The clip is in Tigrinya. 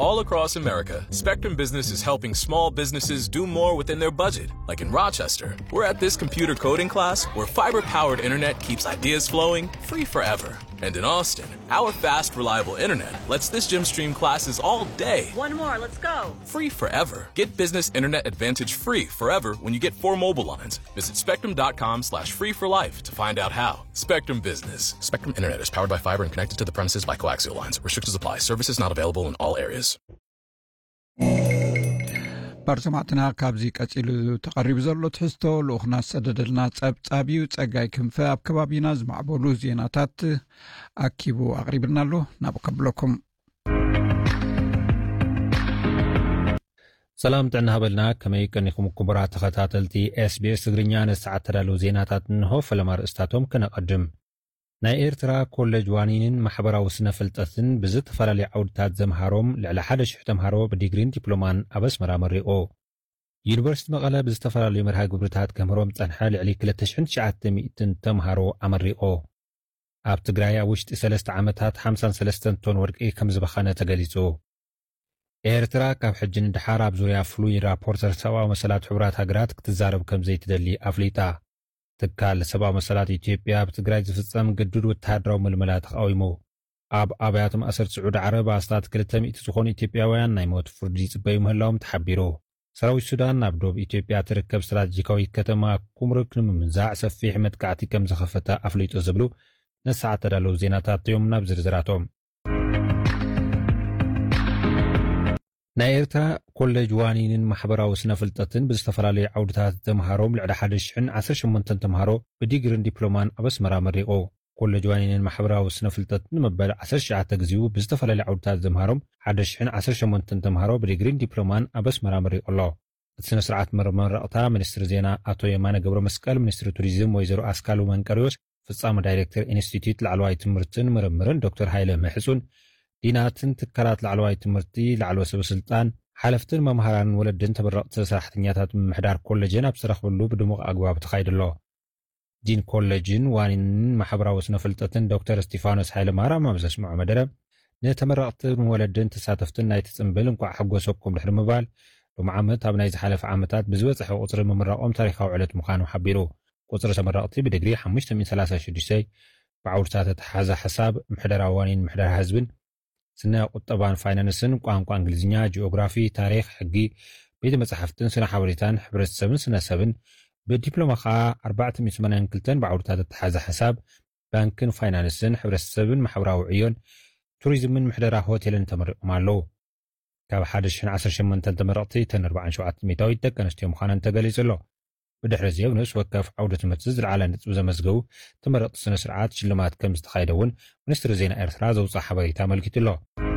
All across America, Spectrum Business is helping small businesses do more within their budget. Like in Rochester, we're at this computer coding class where fiber powered internet keeps ideas flowing free forever. And in Austin, our fast, reliable internet lets this gym stream classes all day. One more, let's go. Free forever. Get business internet advantage free forever when you get four mobile lines. Visit spectrum dot com slash free for life to find out how. Spectrum Business. Spectrum Internet is powered by fiber and connected to the premises by coaxial lines. Restrictions apply. Services not available in all areas. ባር ሰማዕትና፣ ካብዚ ቀጺሉ ተቐሪቡ ዘሎ ትሕዝቶ ልኡኽና ዝሰደደልና ጸብጻብ እዩ። ጸጋይ ክንፈ ኣብ ከባቢና ዝማዕበሉ ዜናታት ኣኪቡ ኣቕሪብልና ኣሎ። ናብኡ ከብለኩም። ሰላም ጥዕና ሃበልና። ከመይ ቀኒኹም ክቡራት ተኸታተልቲ SBS ትግርኛ? ንሰዓት ተዳለዉ ዜናታት እንሆ። ፈለማ ርእስታቶም ከነቐድም። ናይ ኤርትራ ኮሌጅ ዋኒንን ማሕበራዊ ስነ ፍልጠትን ብዝተፈላለዩ ዓውድታት ዘምሃሮም ልዕሊ ሓደ ሽሕ ተምሃሮ ብዲግሪን ዲፕሎማን ኣብ ኣስመራ መሪቑ። ዩኒቨርሲቲ መቐለ ብዝተፈላለዩ መርሃ ግብርታት ከምህሮም ጸንሐ ልዕሊ ክልተ ሽሕን ትሽዓተ ሚእትን ተምሃሮ ኣመሪቑ። ኣብ ትግራይ ኣብ ውሽጢ ሰለስተ ዓመታት ሓምሳን ሰለስተን ቶን ወርቂ ከም ዝበኸነ ተገሊጹ። ኤርትራ ካብ ሕጂ ንድሓር ኣብ ዙርያ ፍሉይ ራፖርተር ሰብኣዊ መሰላት ሕቡራት ሃገራት ክትዛረብ ከም ዘይትደሊ ኣፍሊጣ። ትካል ሰብኣዊ መሰላት ኢትዮጵያ ኣብ ትግራይ ዝፍጸም ግዱድ ወተሃደራዊ ምልመላ ተቓዊሙ። ኣብ ኣብያተ ማእሰርቲ ስዑዲ ዓረብ ኣስታት ክልተ ሚእቲ ዝኾኑ ኢትዮጵያውያን ናይ ሞት ፍርዲ ይጽበዩ ምህላዎም ተሓቢሩ። ሰራዊት ሱዳን ናብ ዶብ ኢትዮጵያ ትርከብ ስትራቴጂካዊት ከተማ ኩምሩክ ንምምንዛዕ ሰፊሕ መጥቃዕቲ ከም ዝኸፈተ ኣፍሊጡ ዝብሉ ነሰዓት ተዳለዉ ዜናታት እዮም። ናብ ዝርዝራቶም። ናይ ኤርትራ ኮሌጅ ዋኒንን ማሕበራዊ ስነ ፍልጠትን ብዝተፈላለዩ ዓውድታት ዘምሃሮም ልዕሊ ሓደ ሽሕን ዓሰርተ ሸሞንተን ተምሃሮ ብዲግሪን ዲፕሎማን ኣብ ኣስመራ መሪቑ። ኮሌጅ ዋኒንን ማሕበራዊ ስነ ፍልጠትን ንመበል ዓሰርተ ትሽዓተ ግዜኡ ብዝተፈላለዩ ዓውድታት ዘምሃሮም ሓደ ሽሕን ዓሰርተ ሸሞንተን ተምሃሮ ብዲግሪን ዲፕሎማን ኣብ ኣስመራ መሪቑ ኣሎ። እቲ ስነ ስርዓት መመረቕታ ሚኒስትሪ ዜና ኣቶ የማነ ገብረ መስቀል፣ ሚኒስትሪ ቱሪዝም ወይዘሮ ኣስካሉ መንቀሪዎስ፣ ፍጻመ ዳይሬክተር ኢንስቲትዩት ላዕለዋይ ትምህርትን ምርምርን ዶክተር ሃይለ ምሕጹን፣ ዲናትን ትካላት ላዕለዋይ ትምህርቲ ላዕለወ ሰበ ስልጣን፣ ሓለፍትን መምሃራንን ወለድን ተመረቕቲ ሰራሕተኛታት ምምሕዳር ኮሌጅን ኣብ ዝተረኽብሉ ብድሙቕ ኣግባብ ተኻይዱ ኣሎ። ዲን ኮሌጅን ዋኒንን ማሕበራዊ ስነ ፍልጠትን ዶክተር እስቲፋኖስ ሃይለ ማርያም ኣብ ዘስምዖ መደረ፣ ንተመረቕትን ወለድን ተሳተፍትን ናይቲ ጽምብል እንቋዕ ሓጎሰኩም ድሕሪ ምባል፣ ሎሚ ዓመት ኣብ ናይ ዝሓለፈ ዓመታት ብዝበጽሐ ቁጽሪ ምምራቖም ታሪኻዊ ዕለት ምዃኑ ሓቢሩ። ቁጽሪ ተመረቕቲ ብዲግሪ ሓሙሽተ ሚእትን ሰላሳ ሽዱሽተ፣ ብዓውድታት ኣተሓሕዛ ሓሳብ፣ ምሕደራ ዋኒን ምሕደራ ህዝብን፣ ስነ ቁጠባን ፋይናንስን፣ ቋንቋ እንግሊዝኛ፣ ጂኦግራፊ፣ ታሪኽ፣ ሕጊ፣ ቤተ መጻሕፍትን ስነ ሓበሬታን፣ ሕብረተሰብን ስነ ሰብን፣ ብዲፕሎማ ኸኣ ኣርባዕተ ሚእቲ ሰማንያን ክልተን ብዓውድታት ኣተሓሕዛ ሓሳብ፣ ባንክን ፋይናንስን፣ ሕብረተሰብን ማሕበራዊ ዕዮን፣ ቱሪዝምን ምሕደራ ሆቴልን ተመሪቖም ኣለዉ። ካብ ሓደ ሽሕን ዓሰርተ ሸሞንተን ተመረቕቲ እተን ኣርባዓን ሸውዓተን ሚእታዊት ደቂ ኣንስትዮ ምዃነን ተገሊጹ ኣሎ። ብድሕሪ እዚ ኣብ ንኡስ ወከፍ ዓውደ ትምህርቲ ዝለዓለ ነጥቢ ዘመዝገቡ ተመረቕቲ ስነ ስርዓት ሽልማት ከም ዝተኻየደ እውን ሚኒስትሪ ዜና ኤርትራ ዘውፅኣ ሓበሬታ ኣመልኪቱ ኣሎ።